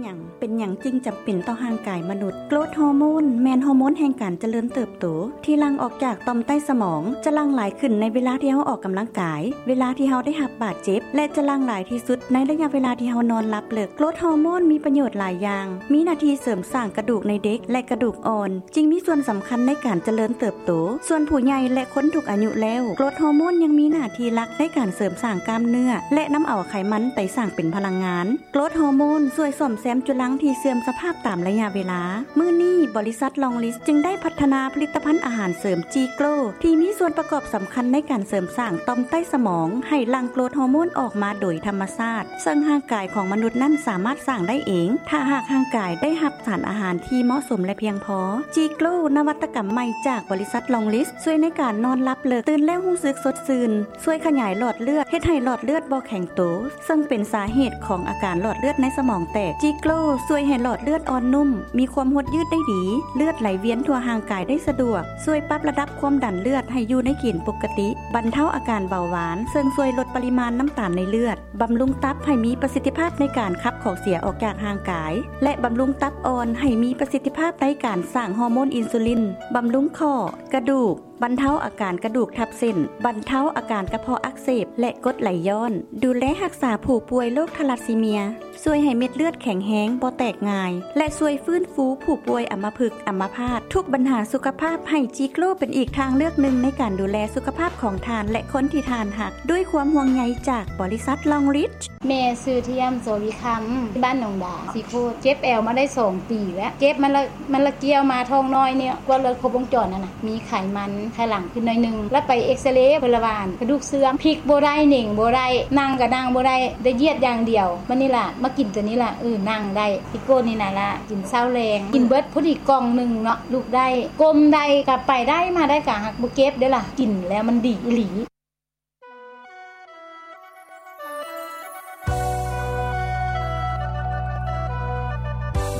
ຫຍັງ ເປັນຫຍັງຈຶ່ງຈຳເປັນຕໍ່ຮ່າງກາຍມະນຸດ? ໂກຣດຮໍໂມນ ແມ່ນຮໍໂມນແຫ່ງການຈະເລີນເຕີບໂຕ ທີ່ຫຼັ່ງອອກຈາກຕ່ອມໃຕ້ສະໝອງ ຈະຫຼັ່ງຫຼາຍຂຶ້ນໃນເວລາທີ່ເຮົາອອກກຳລັງກາຍ, ເວລາທີ່ເຮົາໄດ້ຮັບບາດເຈັບ ແລະ ຈະຫຼັ່ງຫຼາຍທີ່ສຸດໃນໄລຍະເວລາທີ່ເຮົານອນຫຼັບເລິກ. ໂກຣດຮໍໂມນມີປະໂຫຍດຫຼາຍຢ່າງ, ມີໜ້າທີ່ເສີມສ້າງກະດູກໃນເດັກ ແລະ ກະດູກອ່ອນ, ຈຶ່ງມີສ່ວນສຳຄັນໃນການຈະເລີນເຕີບໂຕ. ສ່ວນຜູ້ໃຫຍ່ ແລະ ຄົນທຸກອາຍຸແລ້ວ, ໂກຣດຮໍໂມນຍັງມີໜ້າທີ່ຫຼັກໃນການເສີມສ້າງກ້າມເນື້ອ ແລະ ນຳເອົາໄຂມັນໄປສ້າງເປັນພະລັງງານ. ໂກຣດຮໍໂມນຊ່ວຍສ້ອມແຊມຈຸລັງທີ່ເສື່ອມສະພາບຕາມໄລຍະເວລາ. ມື້ນີ້ ບໍລິສັດລອງລິດ ຈຶ່ງໄດ້ພັດທະນາຜະລິດຕະພັນອາຫານເສີມຈີໂກຣ ທີ່ມີສ່ວນປະກອບສຳຄັນໃນການເສີມສ້າງຕ່ອມໃຕ້ສະໝອງໃຫ້ຫຼັ່ງໂກຣດຮໍໂມນອອກມາໂດຍທຳມະຊາດ, ເຊິ່ງຮ່າງກາຍຂອງມະນຸດນັ້ນສາມາດສ້າງໄດ້ເອງ ຖ້າຫາກຮ່າງກາຍໄດ້ຮັບສານອາຫານທີ່ເໝາະສົມ ແລະ ພຽງພໍ. ຈີໂກຣ ນະວັດຕະກຳໃໝ່ຈາກບໍລິສັດລອງລິດ ຊ່ວຍໃນການນອນຫຼັບເລິກ, ຕື່ນແລ້ວຮູ້ສຶກສົດຊື່ນ, ຊ່ວຍຂະຫຍາຍຫຼອດເລືອດ, ເຮັດໃຫ້ຫຼອດເລືອດບໍ່ແຂງໂຕ, ເຊິ່ງເປັນສາເຫດຂອງອາການຫຼອດເລືອດໃນສະໝອງແຕກ. ຈີໂກຣຊ່ວຍໃຫ້ຫຼອດເລືອດອ່ອນນຸ້ມ, ມີຄວາມຫົດຍືດໄດ້ດີ, ເລືອດໄຫຼວຽນທົ່ວຮ່າງກາຍໄດ້ສະດວກ, ຊ່ວຍປັບລະດັບຄວາມດັນເລືອດໃຫ້ຢູ່ໃນເກນປົກກະຕິ, ບັນເທົາອາການເບົາຫວານ, ເຊິ່ງຊ່ວຍລົດປະລິມານນ້ຳຕານໃນເລືອດ, ບຳລຸງຕັບໃຫ້ມີປະສິດທິພາບໃນການຂັບຂອງເສຍອອກຈາກຮ່າງກາຍ ແລະ ບຳລຸງຕັບອ່ອນໃຫ້ມີປະສິດທິພາບໃນການສ້າງຮໍໂມນອິນຊູລິນ, ບຳລຸງຂໍ້, ກະດູກ, ບັນເທົາອາການກະດູກທັບເສັ້ນ, ບັນເທົາອາການກະເພາະອັກເສບ ແລະ ກົດໄຫຼຍ້ອນ, ດູແລຮັກສາຜູ້ປ່ວຍໂລກທາລັດຊີເມຍ, ຊ່ວຍໃຫ້ເມັດເລືອດແຂງແຮງ, ບໍ່ແຕກງ່າຍ ແລະ ຊ່ວຍຟື້ນຟູຜູ້ປ່ວຍອຳມະພຶກ, ອຳມະພາດ, ທຸກບັນຫາສຸຂະພາບ, ໃຫ້ຈີໂກຣເປັນອີກທາງເລືອກໜຶ່ງໃນການດູແລສຸຂະພາບຂອງທ່ານ ແລະ ຄົນທີ່ທ່ານຮັກ, ດ້ວຍຄວາມຫ່ວງໃຍຈາກບໍລິສັດລອງລິດ. ແມ່ຊື່ທຽມ ໂສວິຄຳ ບ້ານໜອງດາ ສີໂຄດ. ເຈັບແອວມາໄດ້ສອງປີແລ້ວ. ເຈັບມັນລະ ມັນລະກ່ຽວມາທ້ອງນ້ອຍນີ້ ກວດເລືອດຄົບວົງຈອນຫັ້ນນະ ມີໄຂມັນໄຂ່ຫຼັງຂຶ້ນໜ້ອຍໜຶ່ງ ລະໄປເອັກສະເຣ ເພິ່ນລະວ່າກະດູກເສື່ອມ ພິກບໍ່ໄດ້ ເໜັງບໍ່ໄດ້ ນັ່ງກະນັ່ງບໍ່ໄດ້ ໄດ້ຢຽດຢ່າງດຽວ. ບັດນີ້ລະມາກິນໂຕນີ້ລະ ເອີ ນັ່ງໄດ້ ຊິໂກດນີ້ນະລະ ກິນເຊົ້າແລງ ກິນເບິດພໍດີກ່ອງໜຶ່ງເນາະ ລຸກໄດ້ ກົ້ມໄດ້ ກະໄປໄດ້ມາໄດ້ ກະຫາກບໍ່ເຈັບເດ້ລະ ກິນແລ້ວມັນດີອີ່ຫຼີ.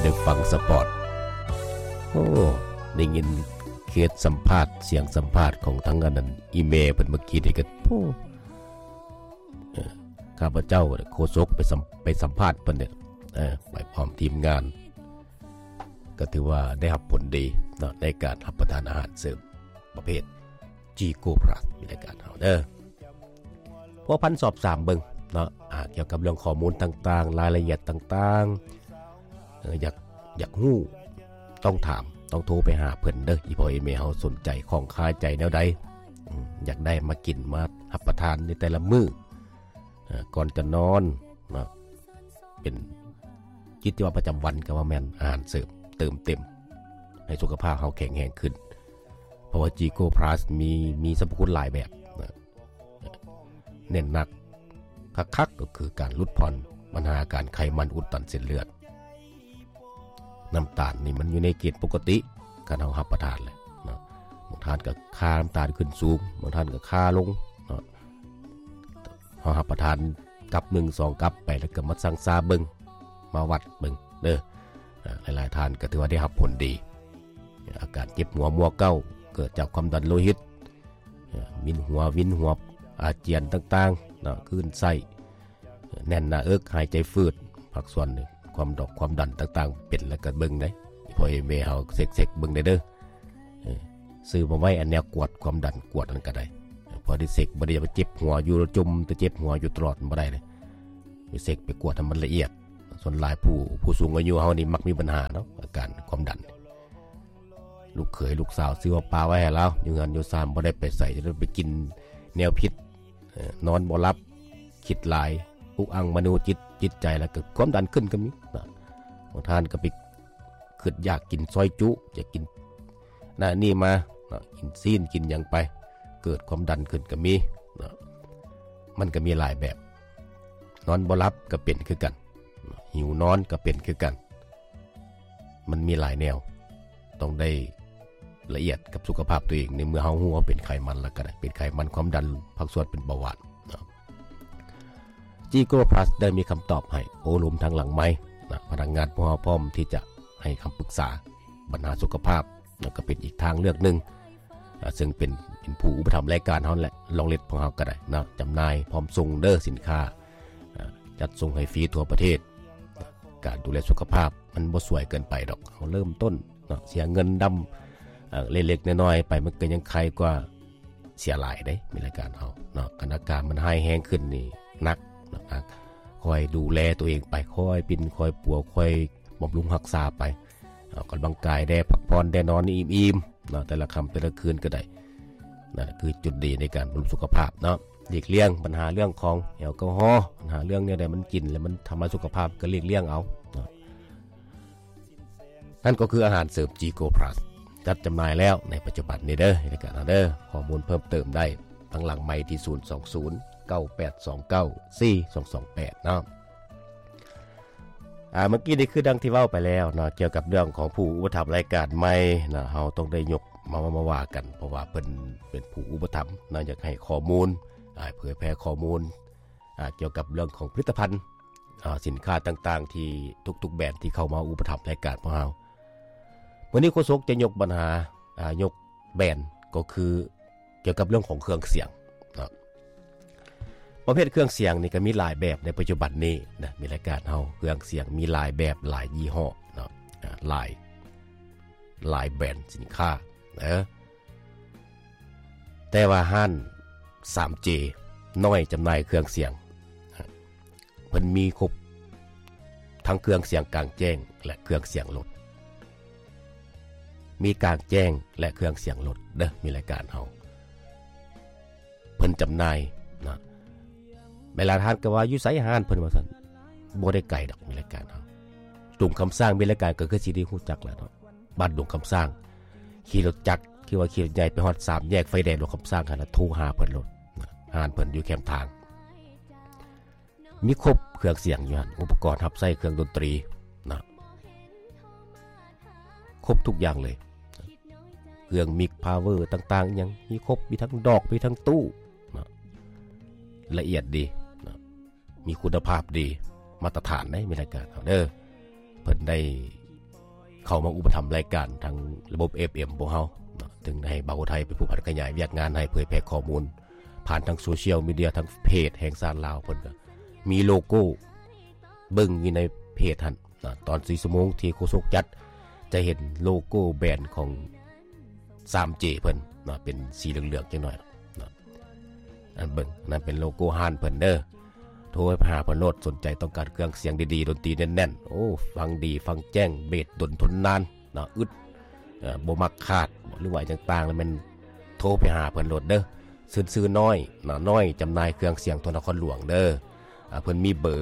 ໄດ້ຟັງສະປອດ ໂອ້ ໄດ້ຍິນເຂດສຳພາດ ສຽງສຳພາດຂອງທາງອັນນັ້ນ ອີແມ່ເພິ່ນເມື່ອກີ້ນີ້ກະ ໂອ້ ເອີ ຂ້າພະເຈົ້າໂຄສົກໄປສຳ ໄປສຳພາດເພິ່ນເດ້ ເອີ ໄປພ້ອມທີມງານ ກະຖືວ່າໄດ້ຮັບຜົນດີເນາະ ໃນການຮັບປະທານອາຫານເສີມປະເພດ ຈີໂກພລັສ ຢູ່ລາຍການເຮົາເດີ ພົວພັນສອບຖາມເບິ່ງເນາະ ອາ ກ່ຽວກັບເລື່ອງຂໍ້ມູນຕ່າງໆ ລາຍລະອຽດຕ່າງໆ ເອີ ຢາກ ຢາກຮູ້ ຕ້ອງຖາມ ຕ້ອງໂທໄປຫາເພິ່ນເດີ ອີ່ພໍ່ອີ່ແມ່ເຮົາສົນໃຈ ຂ້ອງຄາໃຈແນວໃດ ອືມ ຢາກໄດ້ມາກິນ ມາຮັບປະທານໃນແຕ່ລະມື້ ເອີ ກ່ອນຈະນອນເນາະ ເປັນກິດຈະວັດປະຈຳວັນ ກະວ່າແມ່ນອາຫານເສີມ ເຕີມເຕັມໃຫ້ສຸຂະພາບເຮົາແຂງແຮງຂຶ້ນ ເພາະວ່າຈີໂກພລັສມີ ມີສັບພະຄຸນຫຼາຍແບບນະ ເນັ້ນໜັກຄັກໆ ກະຄືການຫຼຸດຜ່ອນບັນຫາອາການໄຂມັນອຸດຕັນເສັ້ນເລືອດ. ນ້ຳຕານນີ້ມັນຢູ່ໃນເກນປົກກະຕິ ຄັນເຮົາຮັບປະທານແຫຼະເນາະ ບາງທ່ານກະຄ່ານ້ຳຕານຂຶ້ນສູງ ບາງທ່ານກະຄ່າລົງເນາະ ເຮົາຮັບປະທານກັບໜຶ່ງສອງກັບໄປ ແລ້ວກະມາຊັ່ງຊາເບິ່ງ ມາວັດເບິ່ງເດີ ອາ ຫຼາຍໆທ່ານກະຖືວ່າໄດ້ຮັບຜົນດີ ອາການເຈັບຫົວມົວເກົ້າ ເກີດຈາກຄວາມດັນໂລຫິດ ວິນຫົວ ວິນຫົວ ອາຈຽນຕ່າງໆເນາະ ຄື້ນໄສ້ ແໜ້ນໜ້າເອິກ ຫາຍໃຈຝືດ ພາກສ່ວນຄວາມດອກຄວາມດັນຕ່າງໆ ເປັນແລ້ວກະເບິ່ງເດ້ ພໍ່ແມ່ເຮົາເຊັກໆເບິ່ງໄດ້ເດີ ເອີ ຊື້ມາໄວ້ອັນແນວກວດຄວາມດັນ ກວດຫັ້ນກະໄດ້ ພໍໄດ້ເຊັກ ບໍ່ໄດ້ໄປເຈັບຫົວຢູ່ ຈົ່ມແຕ່ເຈັບຫົວຢູ່ຕະຫຼອດ ມັນບໍ່ໄດ້ເດ້ ໄປເຊັກໄປກວດໃຫ້ມັນລະອຽດ. ສ່ວນຫຼາຍຜູ້ ຜູ້ສູງອາຍຸເຮົານີ້ມັກມີບັນຫາເນາະ ອາການຄວາມດັນ ລູກເຂີຍລູກສາວຊື້ມາປະໄວ້ໃຫ້ລາວ ຢູ່ເຮືອນຢູ່ຊານ ບໍ່ໄດ້ໄປໃສ ຈະໄດ້ໄປກິນແນວຜິດ ເອີ ນອນບໍ່ຫຼັບ ຄິດຫຼາຍ ອຸກອັ່ງມະໂນຈິດ ຈິດໃຈ ແລ້ວກະຄວາມດັນຂຶ້ນກະມີເນາະ ບາງທ່ານກະໄປຄຶດຢາກກິນຊອຍຈຸ ຢາກກິນນັ້ນນີ້ມາເນາະ ກິນຊີ້ນກິນຫຍັງໄປ ເກີດຄວາມດັນຂຶ້ນກະມີເນາະ ມັນກະມີຫຼາຍແບບ ນອນບໍ່ຫຼັບກະເປັນຄືກັນ ຫິວນອນກະເປັນຄືກັນ ມັນມີຫຼາຍແນວ ຕ້ອງໄດ້ລະອຽດກັບສຸຂະພາບໂຕເອງ ໃນເມື່ອເຮົາຮູ້ວ່າເປັນໄຂມັນແລ້ວກະໄດ້ ເປັນໄຂມັນ ຄວາມດັນ ພາກສ່ວນເປັນເບົາຫວານເນາະ ຈີໂກພລັສໄດ້ມີຄຳຕອບໃຫ້ ໂອ້ລົມທາງຫຼັງໄມນະ ພະນັກງານພວກເຮົາພ້ອມທີ່ຈະໃຫ້ຄຳປຶກສາບັນຫາສຸຂະພາບ ແລ້ວກະເປັນອີກທາງເລືອກໜຶ່ງ ອາ ເຊິ່ງເປັນ ເປັນຜູ້ອຸປະຖຳລາຍການເຮົາແຫຼະ ລອງລິດຂອງເຮົາກະໄດ້ເນາະ ຈຳໜ່າຍພ້ອມສົ່ງເດີ ສິນຄ້າ ອາ ຈັດສົ່ງໃຫ້ຟຣີທົ່ວປະເທດ ກ ການດູແລສຸຂະພາບມັນບໍ່ສວຍເກີນໄປດອກ. ເຮົາເລີ່ມຕົ້ນເນາະ ເສຍເງິນດຳ ເອີ ເລັກໆນ້ອຍໆໄປ ມັນກໍຍັງໄຄກວ່າເສຍຫຼາຍເດ້. ມີລາຍການເຮົາເນາະ ຄັນອາການມັນຮ້າຍແຮງຂຶ້ນນີ້ໜັກເນາະ. ຄອຍດູແລຕົວເອງໄປ ຄອຍປິ່ນ ຄອຍປົວ ຄອຍບຳລຸງຮັກສາໄປ ອອກກຳລັງກາຍແດ່ ພັກຜ່ອນແດ່ ນອນອີ່ມໆເນາະ ແຕ່ລະຄ່ຳແຕ່ລະຄືນກໍໄດ້. ນັ້ນຄືຈຸດດີໃນການບຳລຸງສຸຂະພາບເນາະ. ຫຼີກລ່ຽງບັນຫາເລື່ອງຂອງແອລກໍຮໍ, ບັນຫາເລື່ອງແນວໃດມັນກິນແລ້ວມັນທຳລາຍສຸຂະພາບ ກໍຫຼີກລ່ຽງເອົາເນາະ. ນັ້ນກໍຄືອາຫານເສີມ ຈີໂກພລັສ ຈັດຈຳໜ່າຍແລ້ວໃນປັດຈຸບັນນີ້ເດີ ໃນລາຍການເຮົາເດີ. ຂໍ້ມູນເພີ່ມເຕີມໄດ້ທາງຫຼັງໄມທີ່ ສູນສອງສູນ ເກົ້າແປດສອງເກົ້າ ສີ່ສອງສອງແປດເນາະ. ອາ ເມື່ອກີ້ນີ້ຄືດັ່ງທີ່ເວົ້າໄປແລ້ວເນາະ ກ່ຽວກັບເລື່ອງຂອງຜູ້ອຸປະຖຳລາຍການໃໝ່ເນາະ, ເຮົາຕ້ອງໄດ້ຍົກມາ ມາ ມາວ່າກັນ ເພາະວ່າເພິ່ນເປັນຜູ້ອຸປະຖຳເນາະ, ຢາກໃຫ້ຂໍ້ມູນ ອາ ເຜີຍແຜ່ຂໍ້ມູນ ອາ ກ່ຽວກັບເລື່ອງຂອງຜະລິດຕະພັນ ອາ ສິນຄ້າຕ່າງໆ ທີ່ທຸກໆແບຣນທີ່ເຂົ້າມາອຸປະຖຳລາຍການພວກເຮົາ. ມື້ນີ້ໂຄສົກຈະຍົກບັນຫາ ອາ ຍົກແບຣນ ກໍຄື ກ່ຽວກັບເລື່ອງຂອງເຄື່ອງສຽງເນາະ. ປະເພດເຄື່ອງສຽງນີ້ກໍມີຫຼາຍແບບໃນປັດຈຸບັນນີ້ນະ, ມີລາຍການເຮົາ ເຄື່ອງສຽງມີຫຼາຍແບບ ຫຼາຍຍີ່ຫໍ້ເນາະ ອາ ຫຼາຍ ຫຼາຍແບຣນສິນຄ້າເນາະ. ແຕ່ວ່າຮ້ານ ສາມເຈ ນ້ອຍຈຳໜ່າຍເຄື່ອງສຽງ ເພິ່ນມີຄົບທັງເຄື່ອງສຽງກາງແຈ້ງ ແລະ ເຄື່ອງສຽງລົດ, ມີກາງແຈ້ງ ແລະ ເຄື່ອງສຽງລົດເດີ. ມີລາຍການເຮົາ ເພິ່ນຈຳໜ່າຍນະ. ເວລາທ່ານກໍວ່າ ຢູ່ໃສຮ້ານເພິ່ນ ວ່າຊັ້ນ, ບໍ່ໄດ້ໄກດອກ. ມີລາຍການເຮົາ ດົງຄຳສ້າງ ມີລາຍການ ກໍຄືຊິໄດ້ຮູ້ຈັກແລ້ວເນາະ, ບ້ານດົງຄຳສ້າງ. ຂີ່ລົດຈັກ ຄືວ່າຂີ່ລົດໃຫຍ່ໄປຮອດສາມແຍກໄຟແດງດົງຄຳສ້າງຫັ້ນນະ, ໂທຫາເພິ່ນໂລດນະ, ຮ້ານເພິ່ນຢູ່ແຄມທາງ. ມີຄົບເຄື່ອງສຽງຢູ່ຫັ້ນ, ອຸປະກອນຮັບໃຊ້ເຄື່ອງດົນຕີນະ, ຄົບທຸກຢ່າງເລີຍ. ເຄື່ອງມິກພາວເວີຕ່າງໆ ອີ່ຫຍັງມີຄົບ, ມີທັງດອກ ມີທັງຕູ້ນະ, ລະອຽດດີນະ, ມີຄຸນນະພາບດີ ມາດຕະຖານໃດ໋. ມີລາຍການເຮົາເດີ ເພິ່ນໄດ້ເຂົ້າມາອຸປະຖຳລາຍການທາງລະບົບ ເອັຟເອັມ ພວກເຮົາເນາະ, ເຖິງໃຫ້ບ່າວໄທເປັນຜູ້ຜັນຂະຫຍາຍວຽກງານ ໃຫ້ເຜີຍແຜ່ຂໍ້ມູນຜ່ານທາງໂຊຊຽວມີເດຍ ທາງເພຈແຫ່ງຊາດລາວ. ເພິ່ນກໍມີໂລໂກ້ ເບິ່ງຢູ່ໃນເພຈຫັ້ນນະ, ຕອນສີ່ຊົ່ວໂມງທີ່ໂຄສົກຈັດ ຈະເຫັນໂລໂກ້ແບຣນຂອງ ສາມເຈ ເພິ່ນເນາະ, ເປັນສີເຫຼືອງໆຈັກໜ້ອຍເນາະ. ອັນເບິ່ງ ນັ້ນເປັນໂລໂກ້ຮ້ານເພິ່ນເດີ. ໂທໄປຫາເພິ່ນໂລດ, ສົນໃຈຕ້ອງການເຄື່ອງສຽງດີໆ ດົນຕີແໜ້ນໆ, ໂອ້ ຟັງດີ ຟັງແຈ້ງ, ເບສດົນທົນນານເນາະ, ອຶດ ເອີ ບໍ່ມັກຂາດ ຫຼືວ່າຫຍັງຕ່າງໆ ແລ້ວແມ່ນໂທໄປຫາເພິ່ນໂລດເດີ. ຊື່ນຊື່ນ້ອຍເນາະ, ນ້ອຍຈຳໜ່າຍເຄື່ອງສຽງ ທົ່ວນະຄອນຫຼວງເດີ. ອາ ເພິ່ນມີເບີ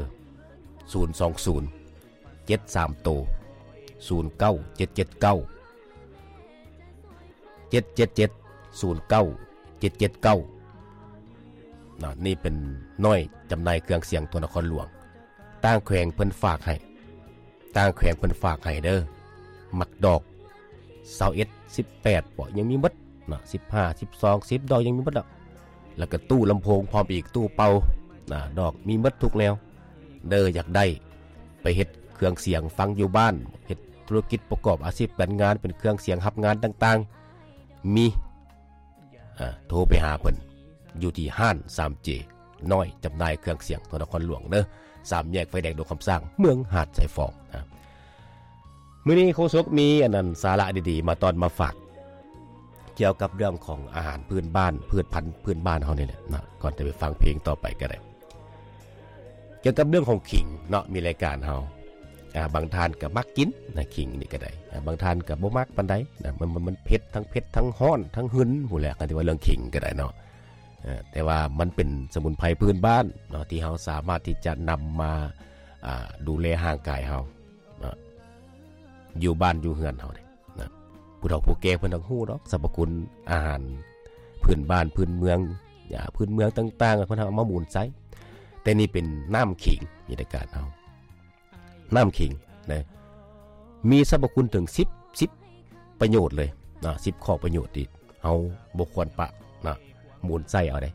ສູນສອງສູນ ເຈັດສາມໂຕ ສູນເກົ້າເຈັດເຈັດເກົ້າ ເຈັດເຈັດເຈັດ ສູນເກົ້າເຈັດເຈັດເກົ້ານະ. ນີ້ເປັນນ້ອຍຈຳໜ່າຍເຄື່ອງສຽງ ທົ່ວນະຄອນຫຼວງ. ຕ່າງແຂວງເພິ່ນຝາກໃຫ້ ຕ່າງແຂວງເພິ່ນຝາກໃຫ້ເດີ. ມັກດອກຊາວເອັດ ສິບແປດເບາະ ຍັງມີໝົດນະ, ສິບຫ້າ ສິບສອງ ສິບດອກ ຍັງມີໝົດດອກ. ແລ້ວກໍຕູ້ລຳໂພງພ້ອມອີກ, ຕູ້ເປົ່ານະ, ດອກມີໝົດທຸກແນວເດີ. ຢາກໄດ້ໄປເຮັດເຄື່ອງສຽງຟັງຢູ່ບ້ານ, ເຮັດທຸລະກິດປະກອບອາຊີບການງານ ເປັນເຄື່ອງສຽງຮັບງານຕ່າງໆ ມີ ອາ ໂທໄປຫາເພິ່ນຢູ່ທີ່ຮ້ານ ສາມເຈ ນ້ອຍ ຈຳໜ່າຍເຄື່ອງສຽງ ທົ່ວນະຄອນຫຼວງເດີ, ສາມແຍກໄຟແດງດົງຄຳສ້າງ ເມືອງຫາດຊາຍຟອງນະ. ມື້ນີ້ໂຄສົກມີອັນນັ້ນ ສາລະດີໆ ມາຕ້ອນມາຝາກ ກ່ຽວກັບເລື່ອງຂອງອາຫານພື້ນບ້ານ ພືດພັນພື້ນບ້ານເຮົານີ້ແຫຼະນະ. ກ່ອນຈະໄປຟັງເພງຕໍ່ໄປກໍໄດ້ ກ່ຽວກັບເລື່ອງຂອງຂີງເນາະ, ມີລາຍການເຮົາ ອາ ບາງທ່ານກໍມັກກິນນະ, ຂີງນີ້ກໍໄດ້ ອາ ບາງທ່ານກໍບໍ່ມັກປານໃດນະ. ມັນ ມັນ ມັນເຜັດ ທັງເຜັດ ທັງຮ້ອນ ທັງຫຶນພຸ້ນແຫຼະ, ຄັນທີ່ວ່າເລື່ອງຂີງກໍໄດ້ເນາະ. ເອີ ແຕ່ວ່າມັນເປັນສະໝຸນໄພພື້ນບ້ານເນາະ ທີ່ເຮົາສາມາດທີ່ຈະນຳມາ ອາ ດູແລຮ່າງກາຍເຮົາເນາະ ຢູ່ບ້ານຢູ່ເຮືອນເຮົາເດ້ນະ. ຜູ້ເຖົ້າຜູ້ແກ່ເພິ່ນຕ້ອງຮູ້ດອກ ສັບພະຄຸນອາຫານພື້ນບ້ານພື້ນເມືອງ ຢາພື້ນເມືອງຕ່າງໆ ເພິ່ນເອົາມາໝູນໃສ່. ແຕ່ນີ້ເປັນນ້ຳຂີງ ມີລາຍການເຮົາ ນ້ຳຂີງນະ ມີສັບພະຄຸນເຖິງສິບ ສິບປະໂຫຍດເລີຍນະ, ສິບຂໍ້ປະໂຫຍດທີ່ເຮົາບໍ່ຄວນປະນະ, ໝູນໃສ່ເອົາເດ້.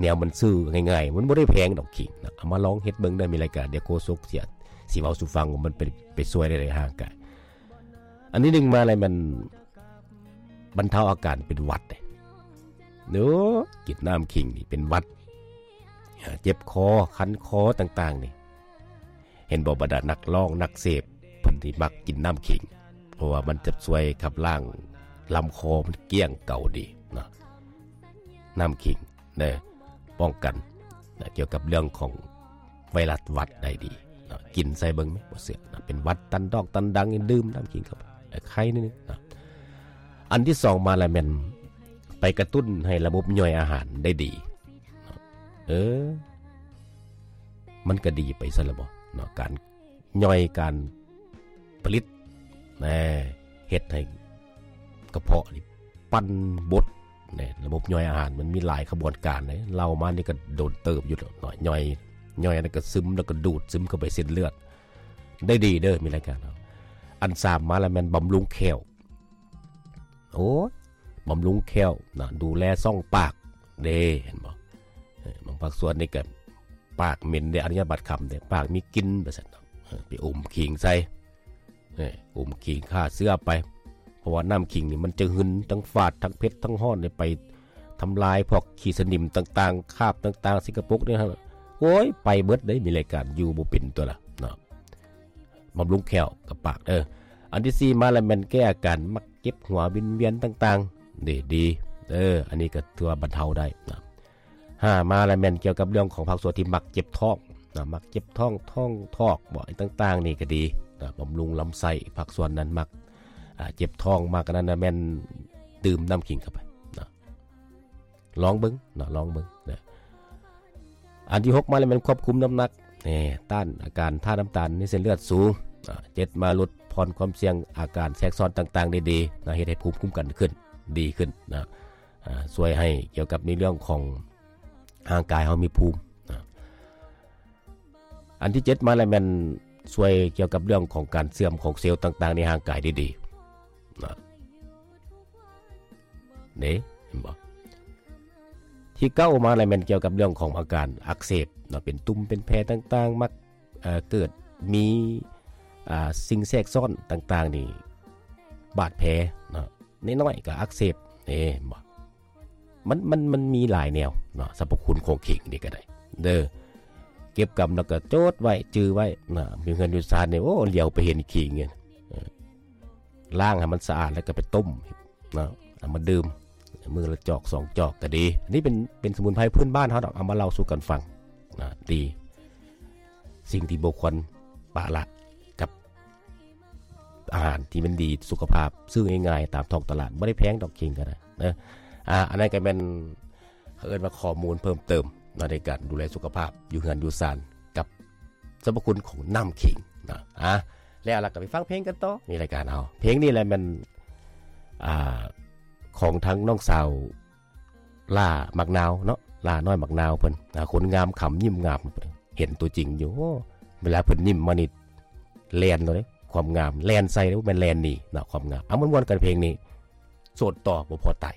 ແນວມັນຊື້ງ່າຍໆ ມັນບໍ່ໄດ້ແພງດອກ ຂີງນະ. ເອົາມາລອງເຮັດເບິ່ງເດີ ມີລາຍການ ດຽວໂຄສົກຊິ ຊິເວົ້າສູ່ຟັງວ່າມັນໄປ ໄປຊ່ວຍໄດ້ໃດຮ່າງກາຍ. ອັນທີໜຶ່ງມາແລ້ວ ມັນບັນເທົາອາການເປັນຫວັດເດ້. ໂອ້ ກິນນ້ຳຂີງນີ້ເປັນຫວັດ ເຈັບຄໍ ຄັນຄໍຕ່າງໆນີ້. ເຫັນບໍ່ ບັນດານັກຮ້ອງນັກເສບ ເພິ່ນທີ່ມັກກິນນ້ຳຂິງ ເພາະວ່າມັນຈະຊ່ວຍຂັບລ້າງລຳຄໍມັນກ້ຽງເກົ່າດີເນາະ ນ້ຳຂິງເດີ ປ້ອງກັນນະ ກ່ຽວກັບເລື່ອງຂອງໄວຣັສຫວັດໄດ້ດີເນາະ ກິນໃສ່ເບິ່ງແມະ ບໍ່ເຊື່ອນະ ເປັນຫວັດຕັນດອກຕັນດັງ ດື່ມນ້ຳຂິງເຂົ້າໄປ ໄຄໜຶ່ງເນາະ. ອັນທີສອງມາລະແມ່ນໄປກະຕຸ້ນໃຫ້ລະບົບຍ່ອຍອາຫານໄດ້ດີເນາະ ເອີ ມັນກະດີໄປຊັ້ນລະບໍເນາະ ການຍ່ອຍ ການຜະລິດ ແນ່ ເຮັດໃຫ້ກະເພາະນີ້ປັ່ນບົດ ແນ່ ລະບົບຍ່ອຍອາຫານມັນມີຫຼາຍຂະບວນການເດ້ ເລົ່າມານີ້ກະດົນເຕີບຢູ່ເນາະ ຍ່ອຍ ຍ່ອຍແລ້ວກະຊຶມ ແລ້ວກະດູດຊຶມເຂົ້າໄປເສັ້ນເລືອດ ໄດ້ດີເດີ ມີລາຍການເຮົາ. ອັນສາມມາລະແມ່ນບຳລຸງແຂ້ວ ໂອ້ຍ ບຳລຸງແຂ້ວນະ ດູແລຊ່ອງປາກເດ້ ເຫັນບໍ່ ເອີ ບາງພາກສ່ວນນີ້ກະປາກເໝັນເດ້ ອະນຸຍາດບາດຄຳເດ້ ປາກມີກິ່ນ ວ່າຊັ້ນເນາະ ເອີ ໄປອົມຂິງໃສ່ ເອີ ອົມຂິງຂ້າເຊື້ອໄປ ເພາະວ່ານ້ຳຂິງນີ້ມັນຈະຫຶນ ທັງຝາດ ທັງເຜັດ ທັງຮ້ອນ ໄປທຳລາຍພວກຂີ້ສະໜິມຕ່າງໆ ຄາບຕ່າງໆ ສະກະປົກນີ້ ໂອ້ຍ ໄປເບິດເດ້ ມີລາຍການ ຢູ່ບໍ່ເປັນຕົວລະເນາະ. ບຳລຸງແຂ້ວກັບປາກເດີ. ອັນທີສີ່ມາລະແມ່ນແກ້ອາການມັກເຈັບຫົວວິນວຽນຕ່າງໆ ເດ້ ດີເດີ ອັນນີ້ກະຖືວ່າບັນເທົາໄດ້ນະ. ຫ້າມາລະແມ່ນກ່ຽວກັບເລື່ອງຂອງພາກສ່ວນທີ່ມັກເຈັບທ້ອງນະ ມັກເຈັບທ້ອງ ທ້ອງຖອກບໍ ອີ່ຕ່າງໆ ນີ້ກະດີນະ ບຳລຸງລຳໄສ້ ພາກສ່ວນນັ້ນມັກ ອາ ເຈັບທ້ອງ ມັກອັນນັ້ນນະ ແມ່ນດື່ມນ້ຳຂິງເຂົ້າໄປນະ. ລອງເບິ່ງເນາະ ລອງເບິ່ງເດີ. ອັນທີຫົກມາແລ້ວແມ່ນຄວບຄຸມນ້ຳໜັກ ແນ່ ຕ້ານອາການທາດນ້ຳຕານໃນເສັ້ນເລືອດສູງ. ອາ ເຈັດມາ ຫຼຸດຜ່ອນຄວາມສ່ຽງອາການແຊກຊ້ອນຕ່າງໆ ໄດ້ດີນະ ເຮັດໃຫ້ພູມຄຸ້ມກັນຂຶ້ນ ດີຂຶ້ນນະ ອາ ຊ່ວຍໃຫ້ກ່ຽວກັບໃນເລື່ອງຂອງຮ່າງກາຍເຮົາມີພູມນະ. ອັນທີເຈັດມາແລ້ວແມ່ນຊ່ວຍກ່ຽວກັບເລື່ອງຂອງການເສື່ອມຂອງເຊວຕ່າງໆ ໃນຮ່າງກາຍໄດ້ດີນະ ເດ້ ເຫັນບໍ່? ທີເກົ້າມາແລ້ວແມ່ນກ່ຽວກັບເລື່ອງຂອງອາການອັກເສບເນາະ ເປັນຕຸ່ມເປັນແຜຕ່າງໆ ມັກ ເອີ ເກີດມີ ອາ ສິ່ງແຊກຊ້ອນຕ່າງໆ ນີ້ ບາດແຜເນາະ ນ້ອຍໆ ກະອັກເສບ ເຫັນບໍ່? ມັນ ມັນ ມັນມີຫຼາຍແນວເນາະ ສັບພະຄຸນຂອງຂິງນີ້ກະໄດ້ເດີ ເກັບກຳແລ້ວກະຈົດໄວ້ ຈື່ໄວ້ນະ ຢູ່ເຮືອນຢູ່ຊານນີ້ ໂອ້ ຫຼຽວໄປເຫັນຂິງນີ້ ເອີ ລ້າງໃຫ້ມັນສະອາດແລ້ວກະໄປຕົ້ມເນາະ ເອົາມາດື່ມ ມື້ລະຈອກສອງຈອກກະດີ. ອັນນີ້ເປັນ ເປັນສະໝຸນໄພພື້ນບ້ານເຮົາດອກ ເອົາມາເລົ່າສູ່ກັນຟັງນະ ດີ ສິ່ງທີ່ບໍ່ຄວນປະລະກັບ ອາຫານທີ່ມັນດີສຸຂະພາບ ຊື້ງ່າຍໆ ຕາມທ້ອງຕະຫຼາດ ບໍ່ໄດ້ແພງດອກ ຂິງກະໄດ້ເດີ. ອາ ອັນນັ້ນກະແມ່ນ ເຂົາເອີ້ນວ່າຂໍ້ມູນເພີ່ມເຕີມເນາະ ໃນການດູແລສຸຂະພາບຢູ່ເຮືອນຢູ່ຊານ ກັບສັບພະຄຸນຂອງນ້ຳຂິງເນາະ. ອາ ແລ້ວລະກະໄປຟັງເພງກັນຕໍ່ ໃນລາຍການເຮົາ. ເພງນີ້ແຫຼະແມ່ນ ອາ ຂອງທັງນ້ອງສາວ ຫຼ້າໝາກນາວເນາະ ຫຼ້ານ້ອຍໝາກນາວເພິ່ນ ອາ ຄົນງາມຂຳຍິ້ມງາມ ເຫັນຕົວຈິງຢູ່ ໂອ້ ເວລາເພິ່ນຍິ້ມມານີ້ແລ່ນເລີຍ ຄວາມງາມແລ່ນໃສ່ເດ້ ບໍ່ແມ່ນແລ່ນໜີເນາະ ຄວາມງາມ. ເອົາ ມ່ວນໆ ກັນເພງນີ້ ໂສດຕໍ່ບໍ່ພໍຕາຍ